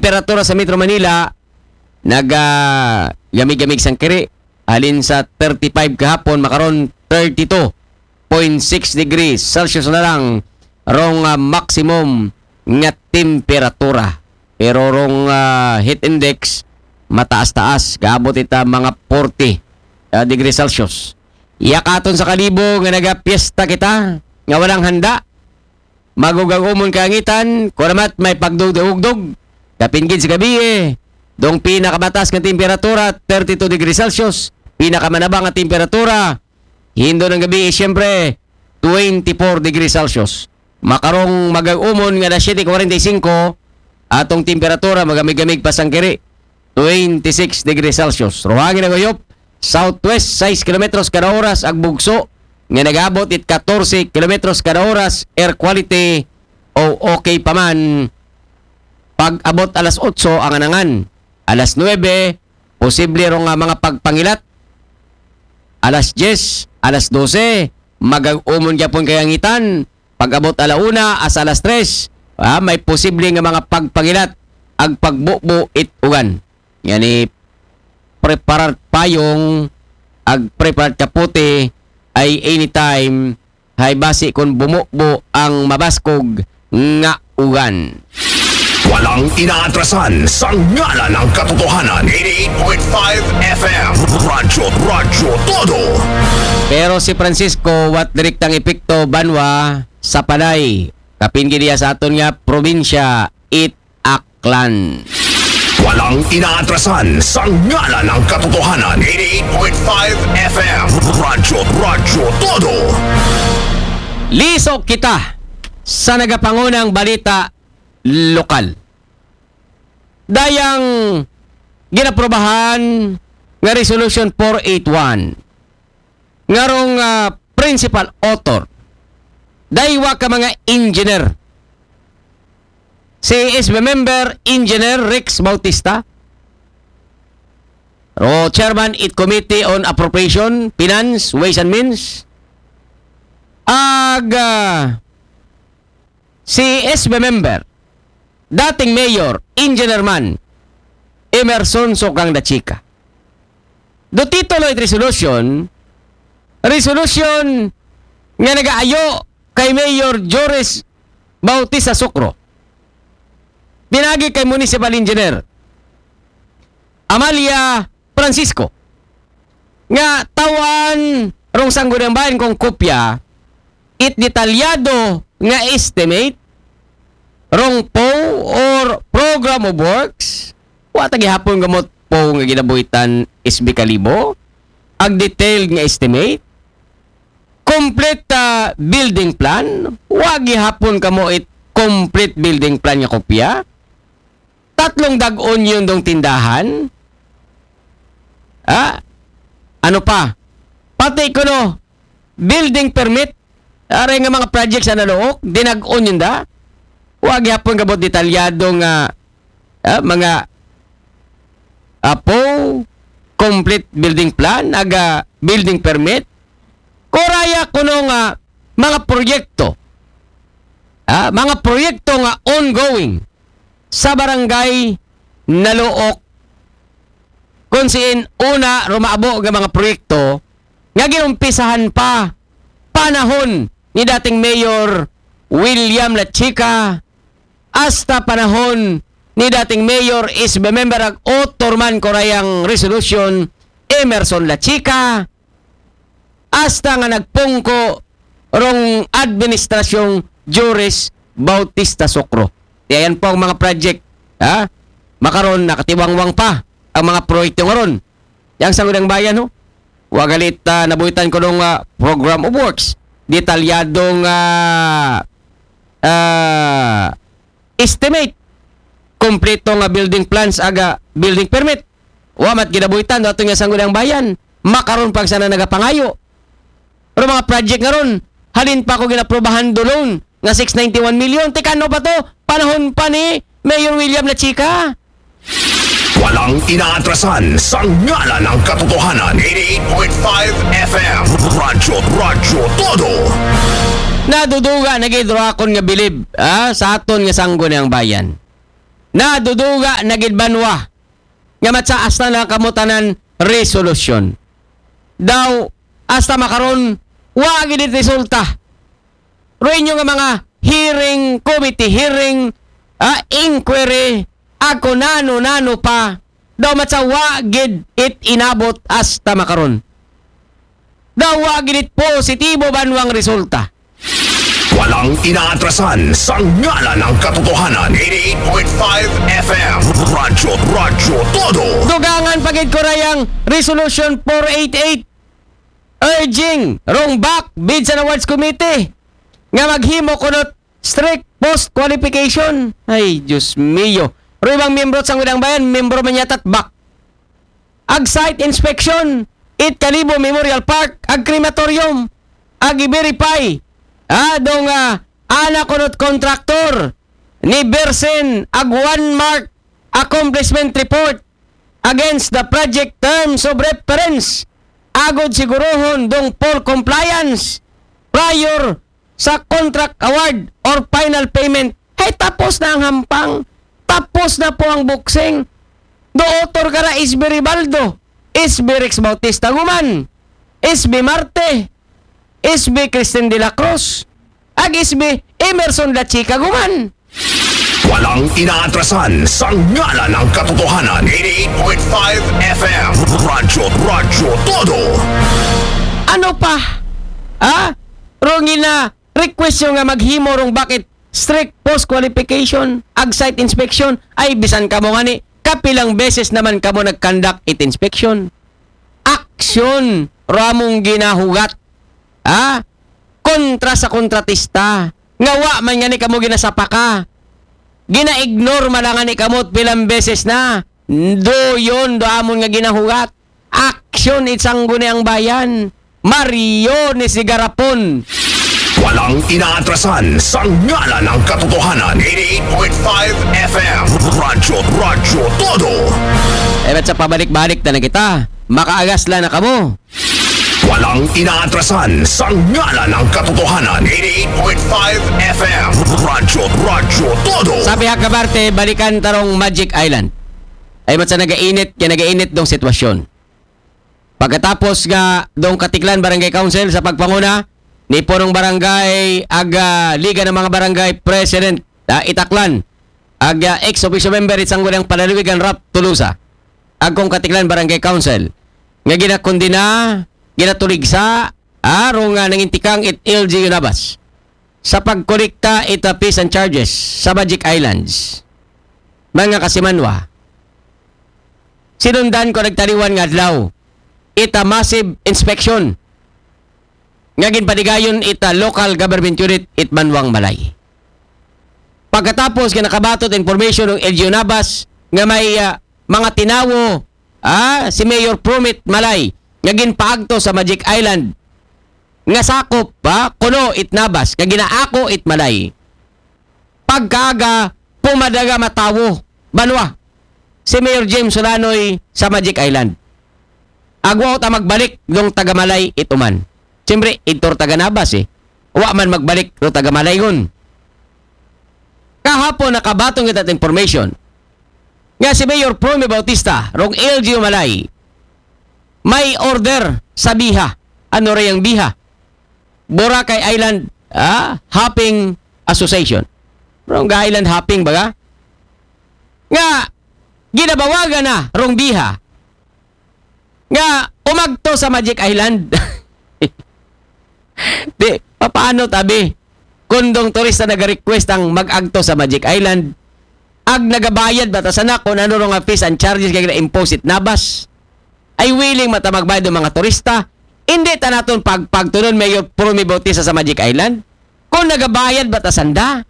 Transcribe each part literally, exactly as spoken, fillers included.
temperatura sa Metro Manila, naga gamig-gamig sangkiri, halin sa thirty-five kahapon, makaron thirty-two point six degrees Celsius na lang rong, ah, maximum nga temperatura. Pero rong, ah, heat index, mataas-taas, gaabot ita mga forty, ah, degrees Celsius. Iya katon sa Kalibo nga nagapiesta kita, nga walang handa. Magugag-umon kalangitan, kunamat may pagdugdog-ugdog. Kapin gid sa gabii, dong pinakamatas nga temperatura, thirty-two degrees Celsius. Pinakamanaba nga temperatura, hindo ng gabii, siyempre, twenty-four degrees Celsius. Makarong magag-umon nga alas siyete forty-five, atong temperatura, magamig-gamig pa sangkiri, twenty-six degrees Celsius. Ruhangin naguyop, southwest, sais kilometros kada oras ag bugso, nga nagabot it katorse kilometros kada oras, air quality o okay pa man. Pag-abot alas otso ang anangan. Alas nuebe, posible ro nga mga pagpangilat. Alas diyes, alas dose, magag-umon gyapon kalangitan. Pag-abot ala una, as alas tres, ah, may posible nga mga pagpangilat ag pagbubo it ugan. Yani, preparar payong ag preparar kapote ay anytime, hay basi kung bumubo ang mabaskog nga ugan. Walang inaatrasan sa ngalan ng katotohanan. Eighty-eight point five F M. Radyo, Radyo Todo. Pero si Francisco, wat direktang epekto banwa sa Panay. Kapin gid iya sa aton nga probinsya, it Aklan. Walang inaatrasan sa ngalan ng katotohanan. Eighty-eight point five F M. Radyo, Radyo Todo. Lisok kita sa nagapangunang balita lokal. Dayang ginaprobahan nga Resolution four eight one, ngarong, ah, principal author, daywa ka mga engineer. Si S B member, Engineer Rex Bautista, ro chairman it Committee on Appropriation, Finance, Ways and Means. Ag, ah, si S B member, dating mayor, engineer man, Emerson Sokang Dachika. Do titulo it resolution, resolution nga nagaayo kay Mayor Joris Bautista Socro, pinagi kay Municipal Engineer Amalia Francisco, nga tawan rong Sangguniang Bayan kung kopya it detalyado nga estimate rong P O or Program of Works. Wa ta gihapon gamot P O nga ginabuhitan, S B Kalibo, ag detailed nga estimate, complete, ah, building plan. Wa gihapon kamo it complete building plan nga kopya. Tatlong dag-on yun dong tindahan. Ah, ano pa? Pati kuno building permit. Aray nga mga project sa naluok, dinag-on yun da. Wa gihapon gabot detalyado nga, ah, mga apo, complete building plan, aga building permit. Kuraya kuno nga mga proyekto, ah, mga proyekto nga ongoing sa barangay Naluok, kung siin una rumaabo nga mga proyekto nga ginumpisahan pa panahon ni dating Mayor William Lachica, hasta panahon ni dating Mayor is member ag author man kurayang resolution, Emerson Lachica, hasta nga nagpungko rong administrasyong Joris Bautista Socro. Kaya yan po ang mga project, ha? Makaron, nakatiwangwang pa ang mga proyekto nga ron. Yang Sangguniang Bayan, ho? Wa galit, ah, nabuhitan ko nung, ah, program of works. Detalyadong, ah, ah, estimate. Kompleto nga building plans, aga building permit. Wa mat ginabuhitan do ato nga Sangguniang Bayan. Makaron pag sana nagapangayo. Pero mga project nga ron, halin pa ko ginaprobahan do loan nga six ninety-one million. Tikano pa to? Panahon pa ni Mayor William Lachica. Walang inaatrasan sa ngalan ng katotohanan. Eighty-eight point five F M. Radyo, Radyo Todo. Naduduga na gid ro akon nga bilib, ah, sa aton nga Sangguniang Bayan. naduduga na gid banwa nga matsa hasta na kamo tanan resolusyon. Daw, hasta makaron, wa gid resulta. Ro inyo nga mga hearing committee, hearing, ah, inquiry, ako nano-nano pa, daw matsa wa gid it inabot hasta makaron. Daw wa gid it positibo banwang resulta. Walang inaatrasan sa ngalan ng katotohanan. eighty-eight point five F M. Radyo, Radyo Todo. Dugangan pa gid ko ra yang Resolution four eighty-eight, urging rong back bids and awards committee nga maghimo kunot strict post qualification. Ay, Diyos mio. Ro ibang miyembro sa Sangguniang Bayan, miyembro man yata't back. Ag site inspection, it Kalibo Memorial Park, ag crematorium, ag i-verify. Ah, dong, ah, ana kunot contractor ni Bersen, ag one mark accomplishment report against the project terms of reference. Agod sigurohon dong full compliance prior sa contract award or final payment. Hey, tapos na ang hampang. Tapos na po ang boxing. Do author ka na, S B Ribaldo, S B Rex Bautista Guman, S B Marte, S B Christine de la Cruz, ag S B Emerson La Chica Guman. Walang inaatrasan sa ngalan ng katotohanan. eighty-eight point five F M. Radyo, Radyo Todo. Ano pa? Ha? Rong ina request nyo nga maghimo rong bakit strict post qualification, ag site inspection, ay bisan kamo ngani, kapilang beses naman kamo nag-conduct it inspection. Aksyon, ramong ginahugat. Ha? Kontra sa kontratista. Nga wa man ngani kamo ginasapaka. Gina-ignore man lang ngani kamo pilang beses na. Do yun, do amon nga ginahugat. Aksyon it Sangguniang Bayan. Mario ni si Garapon. Walang inaatrasan sa ngalan ng katotohanan. eighty-eight point five F M. Radyo, Radyo Todo. Eh, ba't sa pabalik-balik na lang kita? Makaagas lang na kamo. Walang inaatrasan sa ngalan ng katotohanan. eighty-eight point five F M. Radyo, Radyo Todo. Sabi ha, kabarte, balikan tarong Magic Island. Ay, ba't sa nagainit, kaya nagainit dong sitwasyon. Pagkatapos nga dong Katiklan Barangay Council sa pagpanguna ni punong barangay ag, ah, Liga ng mga Barangay President, ah, Itaklan, ag, ah, ex officio member it Sangguniang Panlalawigan Ralph Tolosa, ag kong Katiklan Barangay Council, nga ginakundina, ginatuligsa, arong nga nangintikang it L G U Nabas sa pagkolekta it, ah, fees and charges sa Magic Islands. Mga kasimanwa, sinundan ko nagtaliwan nga adlaw it, ah, massive inspection nga ginpadigayon it, ah, local government unit it Banwang Malay. Pagkatapos nga nakabatot information ng L G U Nabas nga may, ah, mga tinawo, ah, si Mayor Promit Malay nga ginpaagto sa Magic Island nga sakop, ah, kuno it Nabas nga ginaako it Malay. Pagkaaga, pumadaga matawo banwa si Mayor James Solanoy sa Magic Island. Agwa ta magbalik dong taga Malay ituman. Siyempre, idtor taga Nabas eh. Wa man magbalik do taga Malay ngun. Kahapon nakabatong kita information nga si Mayor Promy Bautista, rong L G U Malay, may order sa biha. Ano ra yang biha? Boracay Island, ah, Hopping Association. Rong ga island hopping baga? Nga, ginabawagan na rong biha nga umagto sa Magic Island. Di, papaano tabi? Kundong turista nag-request ang mag-agto sa Magic Island, ag nagabayad ba ta sana kung ano nga fees and charges kay na-impose it Nabas? Ay willing mata magbayad ng mga turista? Hindi ta naton pagpagtunon, Mayor Promy Bautista, sa Magic Island? Kung nagabayad ba ta sanda?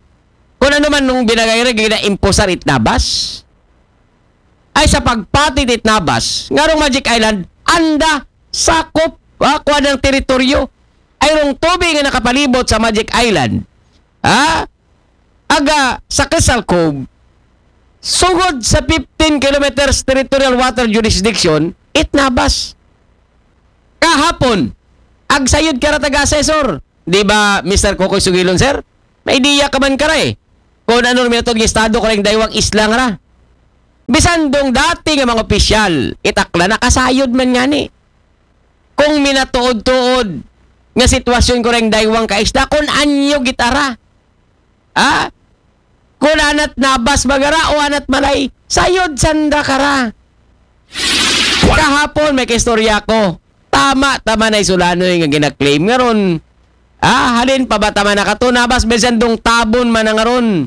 Kung ano man nung binagay rin, gina-imposar it Nabas? Ay sa pagpatit it Nabas, nga rong Magic Island, anda, sakop, ha, kuha ng teritoryo. Ay rong tubig nga nakapalibot sa Magic Island, ha? Aga sa Crystal Cove, sugod sa fifteen kilometers territorial water jurisdiction, it Nabas. Kahapon, agsayod ka ra taga-assessor. Di ba, Mister Kokoy Sugilon, sir? May idea ka man ka ra eh. Kung ano rin minatuod nga estado kareng daywang isla nga ra. Bisan dong dati nga mga opisyal, it aklan, nakasayod man ngani. Kung minatuod-tuod nga sitwasyon kareng daywang ka isla, kung anyo gid ara. Ha? Kung anat nabas baga ra o anat malay, sayod sanda ka ra. Kahapon may kaistorya ko. Tama, tama na isulanoy nga ginaklaim nga ron. Ah, halin pa ba tama na kato nabas, bisan dong tabon man na nga ron.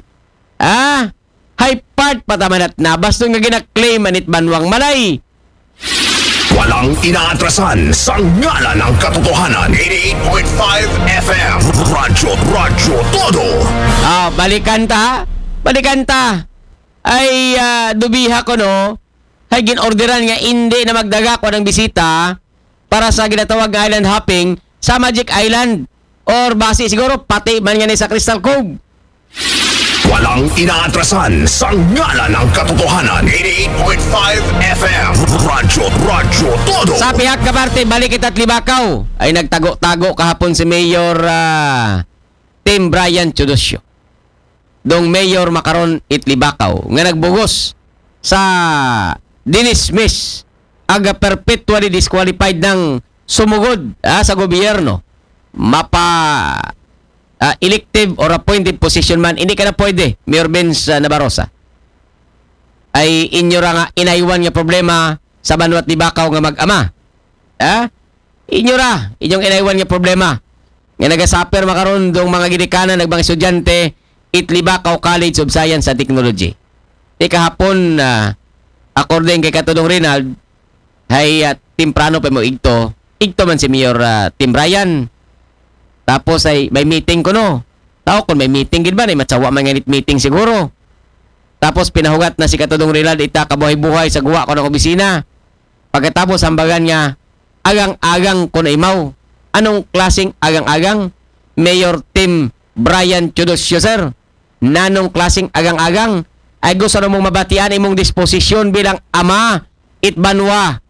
Ah, high part pa tama na nabas dong nga ginaklaim anit banwang malay. Walang inaatrasan sa ngalan ng katotohanan. eighty-eight point five F M. Radyo, Radyo Todo. Ah, balikan ta. Balikan ta. Ay, ah, dubiha ko, no? Ay, ginorderan nga hindi na magdaga ko ng bisita para sa ginatawag nga island hopping sa Magic Island. Or basi siguro, pati man nga ni sa Crystal Cove. Walang inaatrasan sa ngalan ng katotohanan. eighty-eight point five F M. Radyo, Radyo Todo. Sa pihak ka parte, balik kita Libakaw. Ay nagtago-tago kahapon si Mayor ah, Tim Brian Teodosio. Dong Mayor makaron it Libakaw nga nagbugos sa dinismiss aga perpetually disqualified ng sumugod ah, sa gobyerno. Mapa ah, elective or appointed position man, hindi ka na pwede, Mayor Vince ah, Nabarosa. Ay inyo ra nga inaywan nga problema sa banwat Libakaw nga mag-ama. Ha? Inyo ra, inyong inaywan nga problema. Nga nagasaper makaron dong mga ginikanan ng mga estudyante it Libakaw College of Science and Technology. Di kahapon, ah, according kay Katudong Rinald, hay ah, temprano pa mo igto. Igto man si Mayor ah, Tim Ryan. Tapos ay may meeting ko no. Tao kung may meeting gid ba, ay matsawa man nganit meeting siguro. Tapos pinahugat na si Katudong Rinald ita kabuhay-buhay sa guwa ko ng opisina. Pagkatapos hambagan nga, agang-agang ko na imaw. Anong klaseng agang-agang? Mayor Tim Brian Teodosio, sir. Nanong klaseng agang-agang? Ay gusto na mong mabatian imong disposisyon bilang ama, it banwa.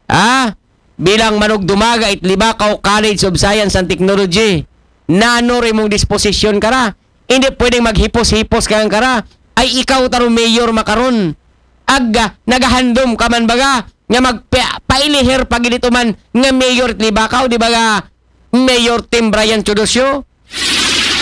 Ha? Bilang manugdumaga it Libakaw College of Science and Technology. Nano rin mong disposisyon ka ra. Hindi pwedeng maghipos-hipos ka ka ra. Ay ikaw taro mayor makaron. Aga, nagahandom ka man baga nga magpailihir pag ito man nga mayor it Libakaw, di ba ga Mayor Tim Brian Teodosio?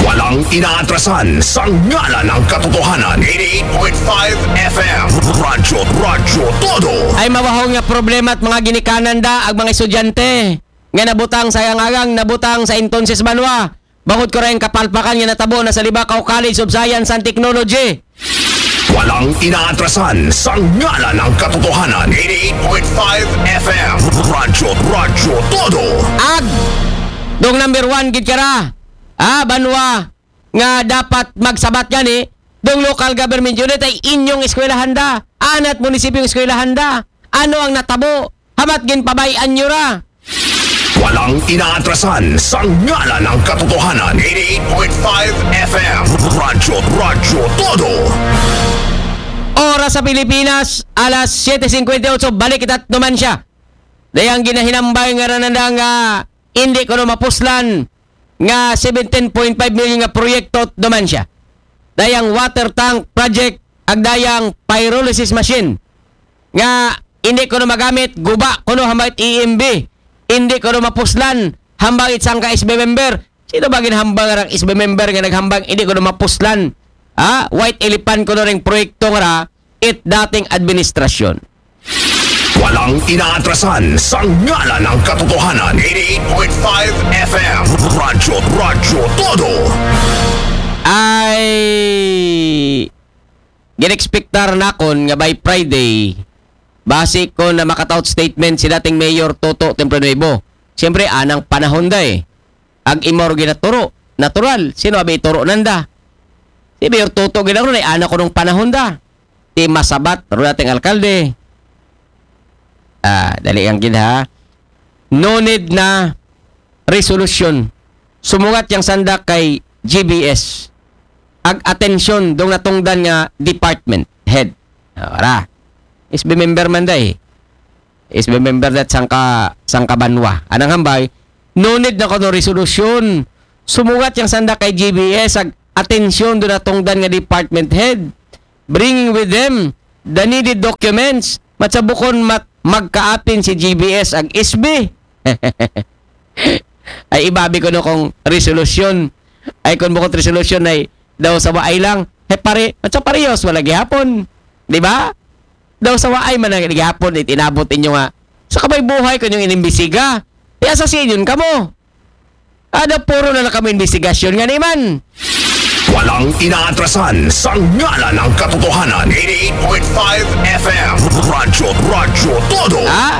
Walang inaatrasan sa ngalan ng katotohanan. eighty-eight point five F M. Radyo, Radyo Todo. Ay mabahong nga problema at mga ginikanan da ang mga estudyante nga nabutang sa agang-agang, nabutang sa entonces banwa. Bangod ko rin kapalpakan nga natabo na sa Libakaw College of Science and Technology. Walang inaatrasan sa ngalan ng katotohanan. eighty-eight point five F M. Radyo, Radyo Todo. Ag dong number one gid ka ra. Ah, banwa nga dapat magsabat gani dong local government unit ay inyong eskwelahan da. Anat munisipyong eskwelahan da. Ano ang natabo? Hamat ginpabayan nyo ra. Walang inaatrasan sa ngalan ng katotohanan. eighty-eight point five F M. Radyo, Radyo Todo. Oras sa Pilipinas, alas siyete singkwenta y ocho, balik kita naman siya. Dayang ginahinambay nga rananda nga hindi ko no mapuslan nga seventeen point five million nga proyekto naman siya. Dayang water tank project, ag dayang pyrolysis machine nga hindi ko no magamit, guba ko no hambang it E M B, hindi ko no mapuslan hambang it sangka S B member. Sino ba ginhambang nga S B member nga naghambang hindi ko no mapuslan? Ha? White elephant ko no ring proyekto nga ra it dating administrasyon. Walang inaatrasan sa ngalan ng katotohanan. eighty-eight point five F M. Radyo, Radyo Todo. Ay ginexpectar nakon nga by Friday, basi ko na makataot statement si dating Mayor Toto Tempranuevo. Siyempre, anang panahon da eh. Ag imor ginaturo, natural. Sino abi ituro nanda? Si Mayor Toto ginagro na ana ko nung panahon da. Ti masabat, ro dating alkalde. Ah, dali ang gid ha. No need na resolution. Sumugat yang sanda kay G B S. Ag atensyon dong natungdan nga department head. Ara. S B member man da eh. S B member dat sangka, sangka banwa. Anang hambay, no need na ko no resolution. Sumugat yang sanda kay G B S ag atensyon do natungdan nga department head. Bring with them the needed documents. Matsa bukon mat-, magkaapin si G B S ag S B. Ay, ibabi ko no kung resolusyon. Ay, kung bukod resolusyon ay daw sa waay lang. He, pare, matsa parehas, wala gihapon. Di ba? Daw sa waay man ang gihapon, it inabot inyo nga. Sa kabay buhay ko inyong inimbisiga. Iya sa sinyon kamo. Ada puro na lang kamo investigasyon nga naman. Walang inaatrasan sa ngalan ng katotohanan. eighty-eight point five F M. Radyo, Radyo Todo. Ha?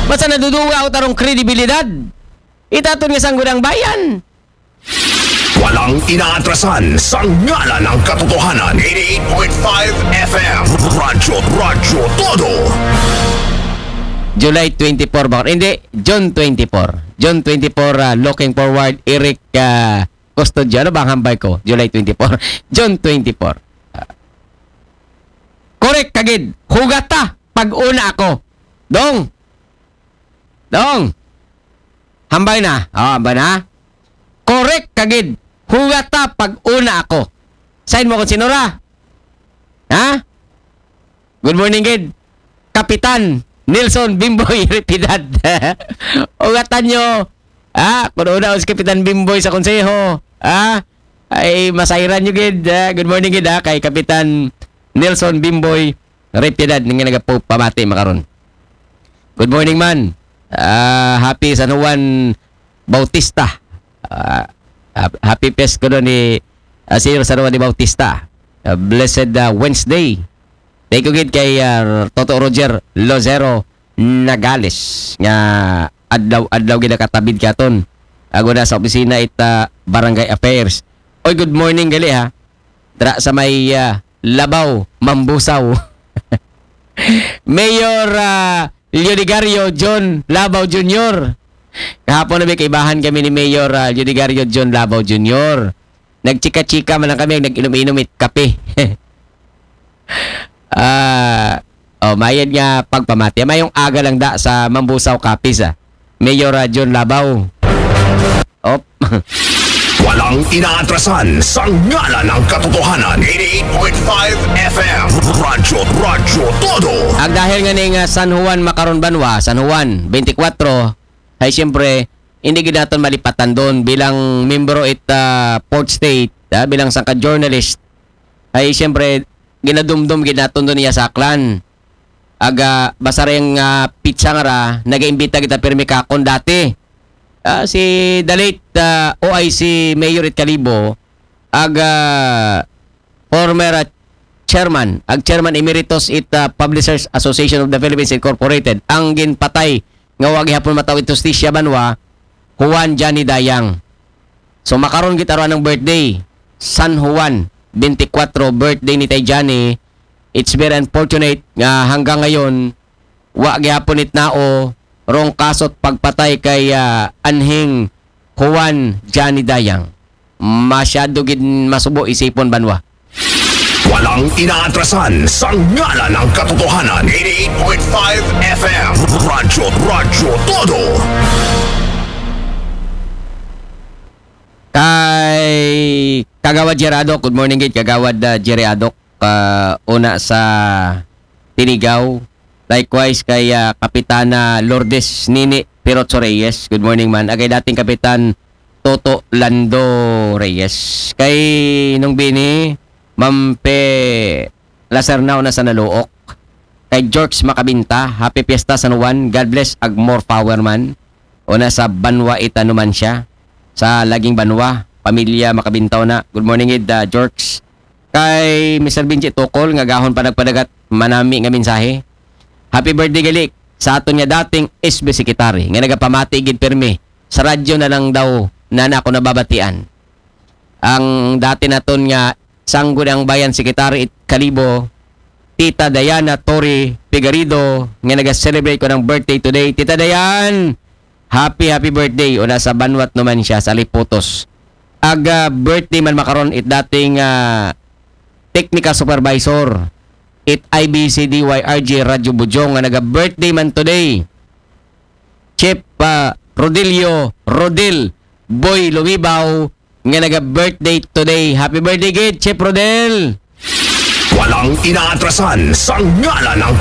Basta naduduga o tarong kredibilidad. Itaton nga sangguniang bayan. Walang inaatrasan sa ngalan ng katotohanan. eighty-eight point five F M. Radyo, Radyo Todo. July twenty-four ba? Hindi, June twenty-four. June twenty-four, ah, looking forward, Eric ah, Custodio. Ano ba ang hambal ko? July twenty-four. June twenty-four. Ah. Correct kagid. Hugata pag una ako. Dong. Dong. Hambal na. Oh, hambal na. Correct kagid. Hugata pag una ako. Sign mo kung sinura. Ha? Good morning, gid. Kapitan Nelson Bimboy Repidad. Ugatan nyo. Ah, kung una si Kapitan Bimboy sa konseho. Ah, ay masayran nyo, gid. Ah, good morning, gid, ah, kay Kapitan Nelson Bimboy Repidad nga nagapamati makaron. Good morning, man. Ah, happy San Juan Bautista. Ah, hap-, happy Pasko do ni ah, Sir San Juan de Bautista. Ah, blessed ah, Wednesday. Thank you gid kay ah, Toto Roger Lozero Nagales nga adlaw-adlaw gid nakatabid katon. Ago na sa opisina it ah, Barangay Affairs. Oy, good morning gali ha. Dra sa may ah, Labaw, Mambusaw. Mayor ah, Leonigario John Labaw Junior. Kahapon na may kaibahan kami ni Mayor ah, Leonigario John Labaw Junior. Nagchika-chika man lang kami, nag-inom-inom it kape. Ah, oh, mayad nga pagpamati. Mayong aga lang da sa Mambusaw Capiz, ah. Mayor ah, John Labaw. Op. Walang inaatrasan sa ngalan ng katotohanan. eighty-eight point five F M. Radyo, Radyo Todo. Ang dahil nga ning ah, San Juan makaron banwa, San Juan, twenty-four, ay siyempre, hindi gid naton malipatan doon bilang membro it ah, Fourth Estate, ah, bilang sangka journalist, ay siyempre, ginadumdum gid naton doon iya sa Aklan. Aga, basta rin nga pizza nga ra, nagaimbita kita pirmi kakon dati. Ah, si the late ah, O I C Mayor it Kalibo, aga, former ah, chairman, ag chairman emeritus it ah, Publishers Association of the Philippines Incorporated, ang ginpatay nga wa gihapon mataw it hustisya banwa, Juan Johnny Dayang. So makaron gid aron ang birthday, San Juan, twenty-four birthday ni Tay Johnny. It's very unfortunate nga hanggang ngayon wa gihapon it nao rong kaso't pagpatay kay ah, anhing Juan Johnny Dayang. Masyado gid masubo isipon banwa. Walang inaatrasan sa ngalan ng katotohanan. eighty-eight point five F M. Radyo, Radyo Todo. Kay Kagawad Jerry Adok, good morning gid Kagawad ah, Jerry Adok, ah, una sa Tinigaw. Likewise kay ah, Kapitana Lourdes Nini Pirozzo Reyes. Good morning man. Agay dating Kapitan Toto Lando Reyes. Kay nung bini, Mampe Lacerna una sa Naluok. Kay George Makabinta, happy fiesta San Juan. God bless ag more power man. Una sa banwa ita Numancia. Sa laging banwa, pamilya Makabinta una. Good morning gid ah, George. Kay Mister Benji Tukol nga gahon pa nagpadagat manami nga mensahe. Happy birthday gali sa aton nga dating S B Secretary nga nagapamati gid pirmi sa radyo na lang daw na na ako nababatian. Ang dati naton nga Sangguniang Bayan Secretary it Kalibo, Tita Diana Tori Figarido nga naga-celebrate ko ng birthday today. Tita Diane, happy happy birthday. Una sa banwat naman siya sa Liputos. Aga birthday man makaron it dating ah, technical supervisor it I B C D Y R G Radyo Bujong nga naga-birthday man today. Chief ah, Rodilio Rodil Boy Lumibaw nga naga-birthday today. Happy birthday gid, Chef Rodel! Walang inaatrasan sa ngalan ng